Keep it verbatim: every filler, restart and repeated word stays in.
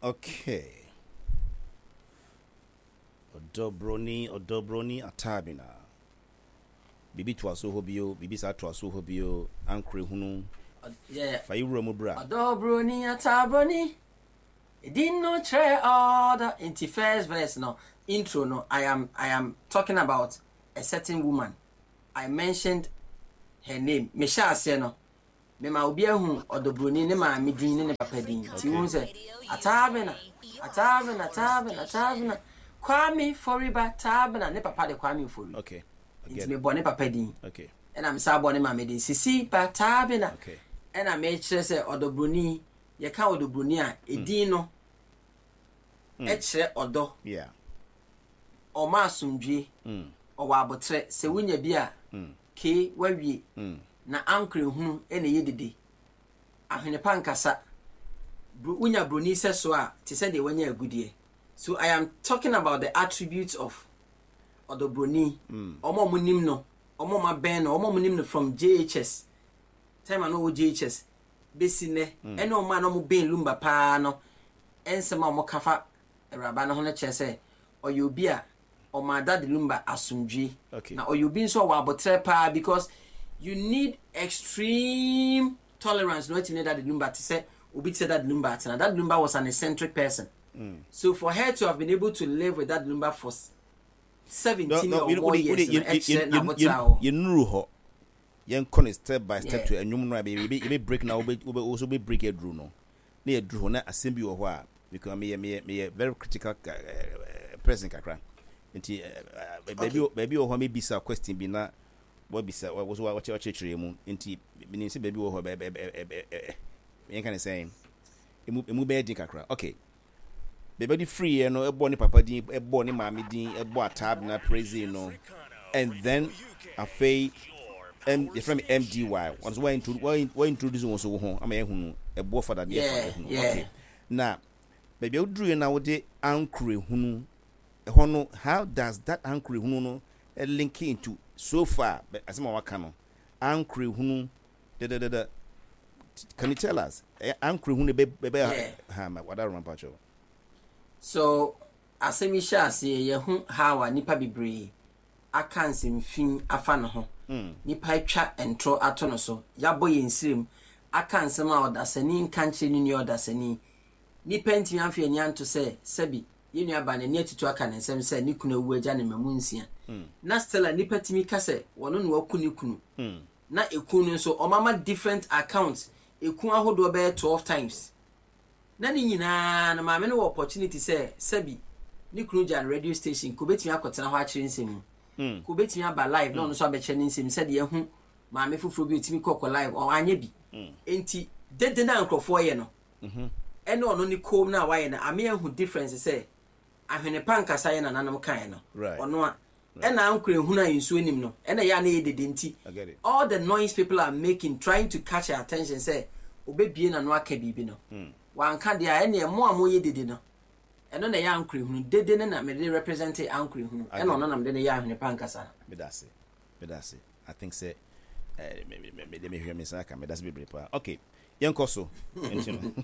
Okay, Ɔdɔbroni, Ɔdɔbroni Atabina, biribi toa so hɔ bio, biribi saa toa so hɔ bio, ankorɛ hunu. Yeah. Fa yi wura mu bra. Ɔdɔbroni Atabroni, edin no kyerɛ ɔdɔ. Nti first verse no, intro no, I am I am talking about a certain woman. I mentioned her name. Mehyɛ aseɛ no, mema obi ahu Ɔdɔbroni ne maame din ne ne papa din. Nti wohu sɛ Atabena, Atabena, Atabena, Atabena, Kwame Foriba Tabena, ne papa de Kwame Fori. Okay I Nti get it. mebɔ ne papa din. Okay ɛna mesa bɔ ne maame din, Sisi ba Tabena. Okay ɛna mekyerɛ sɛ Ɔdɔbroni, yɛka Ɔdɔbroni a, edin no ɛkyerɛ ɔdɔ. Yeah ɔma asomdwie, mm. ɔwɔ abotrɛ, sɛ wonya bi a, Mm. kee wawie. Mm. Na ankorɛ hunu ɛna ɛyɛ dede, ahwene pa nkasa. Bro- wonya broni sɛ so a, te sɛ deɛ wanya agudeɛ. So I am talking about the attributes of Ɔdɔbroni. Mm. Ɔmo a ɔmo nim no, ɔmo a ɔmo abɛn no, ɔmo a ɔmo nim no from J H S time a na ɔwɔ J H S bɛsi nnɛ, ɛne ɔmo a na ɔmo bɛn Lumba paa no, ɛnsɛm a ɔmo ka fa awuraba no ho no kyerɛ sɛ ɔyɛ obi a ɔma Daddy Lumba asomdwie. Okay. Na ɔyɛ obi nso a ɔwɔ abotrɛ paa, because you need extreme tolerance na watumi ne Daddy Lumba, te sɛ obi te sɛ Daddy Lumba atena. Daddy Lumba was an eccentric person, Mm. so for her to have been able to live with Daddy Lumba for seventeen No, no, or we- more we- years we- no, ɛkyerɛ yɛn- n'abotrɛ a yɛn- ɔwɔ. Yɛnnuru hɔ, yɛnkɔ ne step by step Yeah. to ɛnwom no a yɛbɛ yɛbɛ break na wobɛ wobɛ wo so wobɛ break aduru no na yɛduru hɔ na asɛm bi wɔ hɔ a, because meyɛ meyɛ meyɛ very critical uh, person kakra, nti eh, baabi wɔ- baabi wɔ hɔ a mebisa question bi na wabisa, wo so wakyerɛkyerɛ mu, nti menim sɛ baabi wɔ hɔ bɛ bɛ bɛ bɛ ɛ yɛnka ne sɛn, emu emu bɛyɛ den kakra. Okay, baabi de firi yɛ no, ɛbɔ ne papa din, ɛbɔ ne maame din, ɛbɔ Atabena praise no, and then afei M, yɛfrɛ me M D Y, wɔn nso wɔn wɔn introduce wɔn so wo ho ama yɛhu no, ɛboɔ fada deɛ fa Yeah, yɛhu no. yeah. Okay, na baabi a woduru yɛ na wode ankorɛ hunu ɛhɔ no, how does that ankorɛ hunu no eh, link into so far bɛ- asɛm a waka no, ankorɛ hunu dadadada? Can you tell us eh, ankorɛ hunu bɛ bɛ Yeah. bɛ ha ma wada roma mpakyɛw? So asɛm yi hyɛ aseɛ, yɛho how a nipa bebree aka nsɛmfi afa ne ho. Mm. Nipa atwa ntorɔ ato no so, yɛabɔ yɛn nsirem aka nsɛm a ɔdasani nka nkyerɛ ne nua ɔdasani. Nipa ntumi amfa ani anto sɛ sɛbi yɛn nua ba n'ani atutu aka ne nsɛm sɛ ne kunu awu agya ne mmamu nsia, na still a nipa tumi ka sɛ wɔno na waku ne kunu. Mm. Na eku no nso, ɔmama different accounts, eku ahodoɔ bɛyɛ twelve times, na ne nyinaa no, maame no wɔ opportunity sɛ sɛbi ne kunu gya no radio station, ko obetumi akɔtena hɔ akyerɛ nsɛm mu, Mm. ko obetumi aba live na ɔno nso abɛkyerɛ ne nsɛm, sɛdeɛ ɛho maame foforɔ bi otumi kɔkɔ live, ɔanyɛ bi. Nti dede na nkurɔfoɔ yɛ no, Mhm. ɛne ɔno ne kom no a wayɛ no, ame ahu difference sɛ ahwene pa nkasa yɛ nananom kaeɛ no. Right. Ɔno a ɛna ankora ehunu a nsuo nim no, ɛna ɛyɛ a na ɛyɛ dede, nti I get it. all the noise people are making, trying to catch her attention sɛ obebie n'ano aka biribi no, wanka deɛ a, ɛneɛ mo a moyɛ dede no, ɛno na ɛyɛ ankora ehunu dede no na mede represent ankora ehunu, ɛna ɔno na mede no yɛ ahwene pa nkasa no. Medase, medase. I think sɛ eh, me me me mede mehwɛ me nsa aka. Medase bebree paa. Okay, yɛnkɔ so. Nti no